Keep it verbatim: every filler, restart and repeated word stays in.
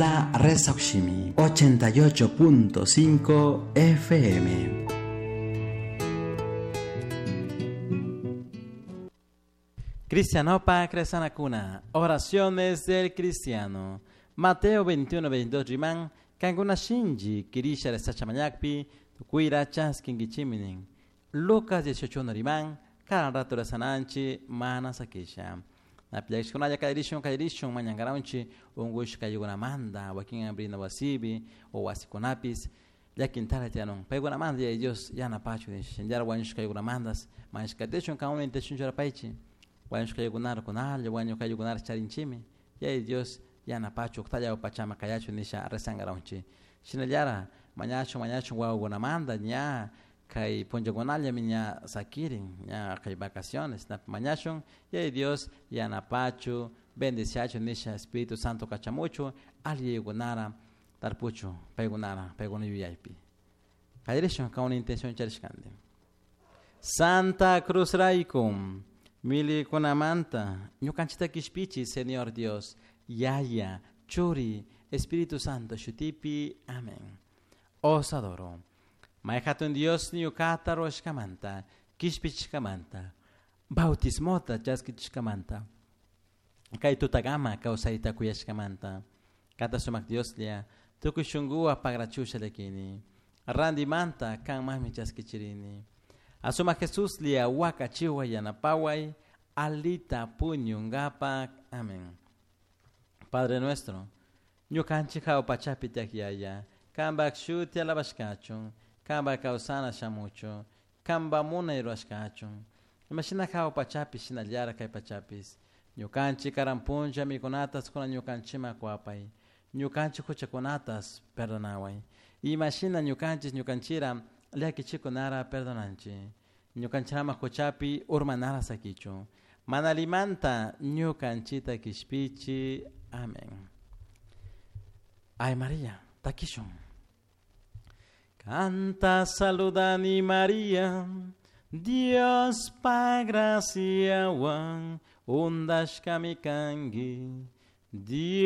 Resoximi ochenta y ocho punto cinco F M. Cristianopa Cresanacuna, oraciones del cristiano. Mateo veintiuno, veintidós, Rimán, Kanguna Shinji, Kirisha Resachamañakpi, Tukuira Chaskingichiminin. Lucas dieciocho, Rimán, Karan Rato Resananchi, Mana Sakisha. Napillashkunalla kallarishun kallarishun mañankaranchik unkushka kaykunamanta wakin ambrina wasipi o wasikunapis llakintara tiyanun paykunamanta Yaya Dios yanapachu nisha wañushka kaykunamantas mañashkatishun kanuna intención churapaychik wañushka kaykunara kunalla wañushka kaykunara charinchimi Yaya Dios yanapachu uktalla pachama kayachu nisha rezankaranchik shinallara mañachun mañachun wawakunamanta ña kay punllakunallami ña sakirin ña kay vacaciones na mañashun Yaya Dios yanapachu bendiciachu nisha Espíritu Santo kachamuchu alli yaykunara tarpuchu paykunara paykuna yuyaypi kallarishun kawna intención charishkanti Santa Cruz raykum milikunamanta ñukanchikta kishpichi Señor Dios Yaya Churi Espíritu Santo shutipi amén. Os adoro. Mayhatun Dios ñuqata ruwashkamanta, kishpichishkamanta, bautismota chaskichishkamanta, kay tutakama kawsayta kuyashkamanta, kata sumaq Dioslla, tukuy shunquwa pagrachusha llakini, randimanta kanmanmi chaskichirini. Asumaq Jesuslla wakachiwa yanapaway, alita puñunkapak. Amén. Padre nuestro, ñuqanchik hawa pachapi tiyaq Yaya, kanpak shuti alabashkachun, kamba kawsana shamuchu, kamba munay ruwashkachun. Imashina hawa pachapi shinallara kay pachapis. Ñukanchik karan puncha mikunatas kuna ñukanchikman kuwapay. Ñukanchik huchakunatas perdonaway. Imashina ñukanchik ñukanchira llakichikunara perdonanchik. Ñukanchirama huchapi urmanara sakichu. Manalimanta ñukanchita kishpichi. Amén. Ay María, takishun. Canta saludani María, Dios pa gracia wan, undashkami kangi, Dios